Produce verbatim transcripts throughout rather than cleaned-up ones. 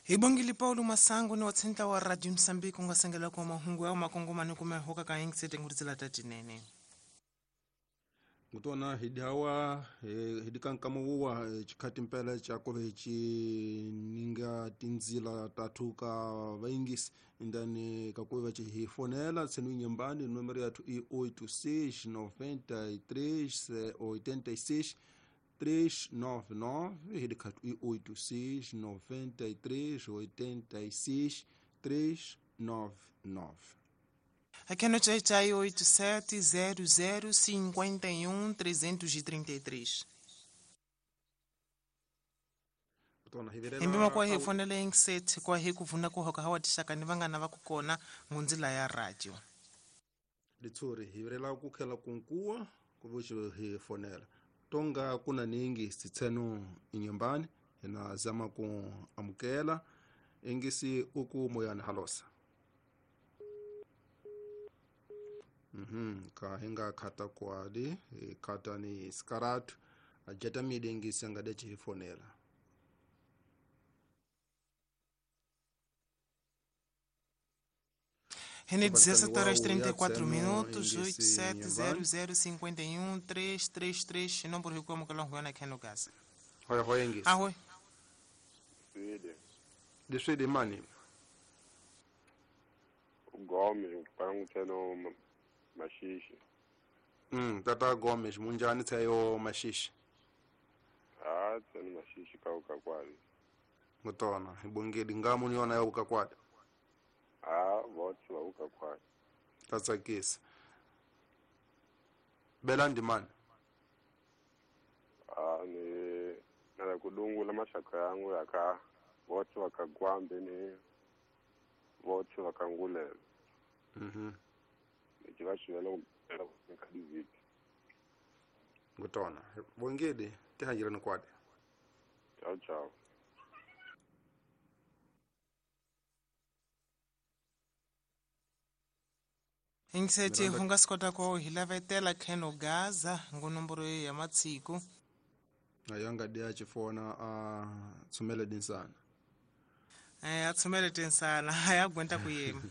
Hi bongile Paulo Masango ni wa tsentla wa Radio Mozambique nga sengela kwa mahungu ya makongomani kume hoka ka ingisete nguritsela tatinene. Ngutona hidawa hidikankamo chikhati mpela cha kovechi ninga tinzila tatu ka vaingisi ndani kakuva chihifonela tsenu nyembani numero yathu i oito seis noventa e três oitenta e seis três nove nove hidikatu i oito seis noventa e três oitenta e seis três nove nove. Aqui no Tchai oito sete zero zero cinquenta e um trezentos e trinta e três. Imbima kwa hifonela ingisethi kwa hikuvuna kuhoka hawa tishaka ni vangana va kukona ngunzila ya radio. Litsuri hivirela kukhela kunkuwa kuvuchi hifonela. Tonga kuna ningi sitsenu inyumbani ina zama ku amukela ingisi uku moyani halosa. Mhm ka hinga khata kwadi khata ni skaratu ajata midengisi ngade chifonela. Rene dezessete horas trinta e quatro minutos, oito sete zero zero cinquenta e um três três três, não por como que longo na aqui no gás. Oi, oi, ingisi. Ah, oi. Desde mani. Gomes, panguteno Mashishi. Mm, tata Gomes, munjani tsayo Mashishi. Ah, tsani Mashishi ka ukakwadi. Ngutona, ibongedi ngamu niona ya ukakwadi. Ah, votsi va ukakwadi. Tatsakisa. Belandi man. Ah, ni na kudungula mashaka yangu yaka votsi vakagwambe ni votsi vakangulela. Mhm. Ngutona bongede tihanjira nokwade. Ciao ciao. Ingisethi hungasikota ko hilavetela kheno Gaza ngonomboro ya matsiku. Ayanga dia chifona a tsumele dinsana. Eh atsumele dinsana ayagwenta kuyema.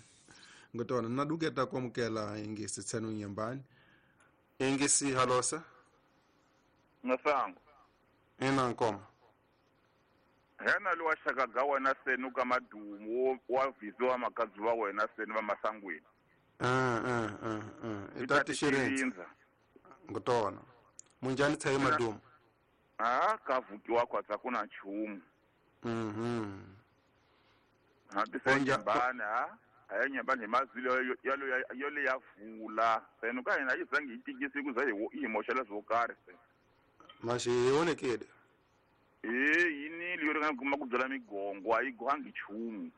Ngutona naduketa kwamukela ingisi tsenu nyembani. Ingisi halosa. Masango. Ina nkoma. Hena liwa shaka gawa na senu kama dumu wa vizo makazi wa wena senu va masangwini. Ah ah ah ah. Itati shirinza. Ngutona. Munjani tsaye madumu. Ah kavukiwa kwa tsakuna chumu. Mhm. Hadi nyembani ha. Ayenye bani mazilo yalo yalo yavula senu ka yena izange itikisi kuze imoshela zokari se Mashe yonekede eh yini liyo nga kuma kudzala migongo ayigwangi chumu.